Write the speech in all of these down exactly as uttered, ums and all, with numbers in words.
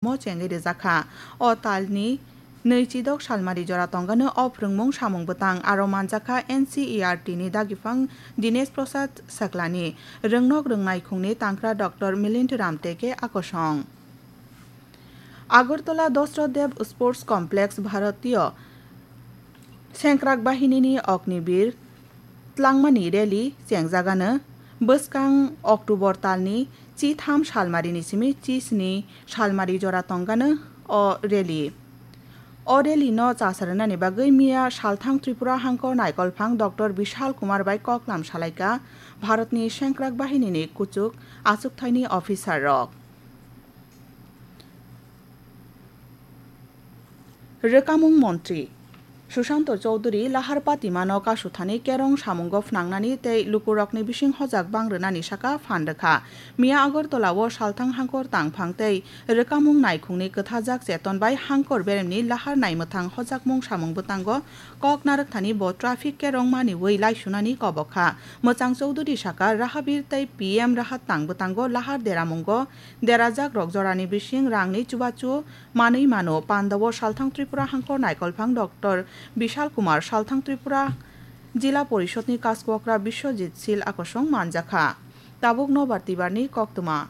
mo chengwi rijak kha. O talni nwi chidok salmari jora tongano o phrwngmung samung bwtang aro manjak kha N C E R T ni dagiphan Dinesh Prasad Saklani, rwngnok rwngnaikhungni tangkra Doctor Milind Ramteke akosong. Agartala Dasarath Dev Sports Complex Bharatiya Sengkrak Bahinini Ognibir tlangmani rally chengjagano bwskang October talni chitham salmarini simi chisni salmari jora tongano o rally. O rally no chasarnani bagwi miya salthang Tripura hangkor naikolphang Doctor Bishal Kumar bai koklam salaikha Bharatni Sengkrak Bahinini kuchuk achukthaini officer rok. Rwkamung montri Sushanta Chowdhury lahar patimano kasuthani kerong samungo phnangnani tei lukurokni bising hojak bang rwnani saka phan rwkha. Miya Agartala o salthang hangkor tangphang tei rwkamung naikhungni kwthajak cheton bai hangkor beremni lahar naimwthang hojakmung samung bwtango kok narwkthani bo traffic kerong maniwi laisunani kobok kha. Mwchang Chowdhury saka Rahabir tei P M Rahat tang bwtango lahar deramungo derajak rok jorani bising rangni chubachu manwi mano. Pandao salthang Tripura hangkor naikolphang Doctor Bishal Kumar, salthang Tripura Jila Porishodni Kaskwokra Biswajit Sil akosong manjakha. Tabuk nobar tibarni koktwma.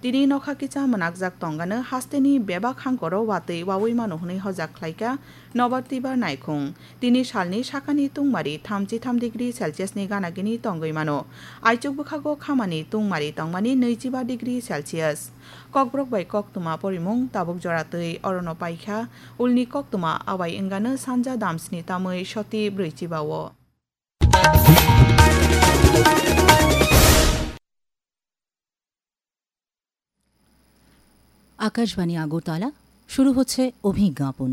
Tini nokha kisa mwnakjak tongano hasteni bebak hangkoro watwi wawi mano hwnwi hojak khlaikha nobar tibar naikhung. Tini salni sakani tungmari thamchi tham degree Celsius ni gana gini tongwi mano. Aichuk bwkhago khamani tungmari tongmani nwichiba degree Celsius. Kokborok bai koktwma porimung tabuk jora twi orono paikha. Ulni koktwma awai wngano sanja damsni tamwi soti brwichiba o. Akashvani আগরতলা, শুরু হচ্ছে অভিজ্ঞাপন।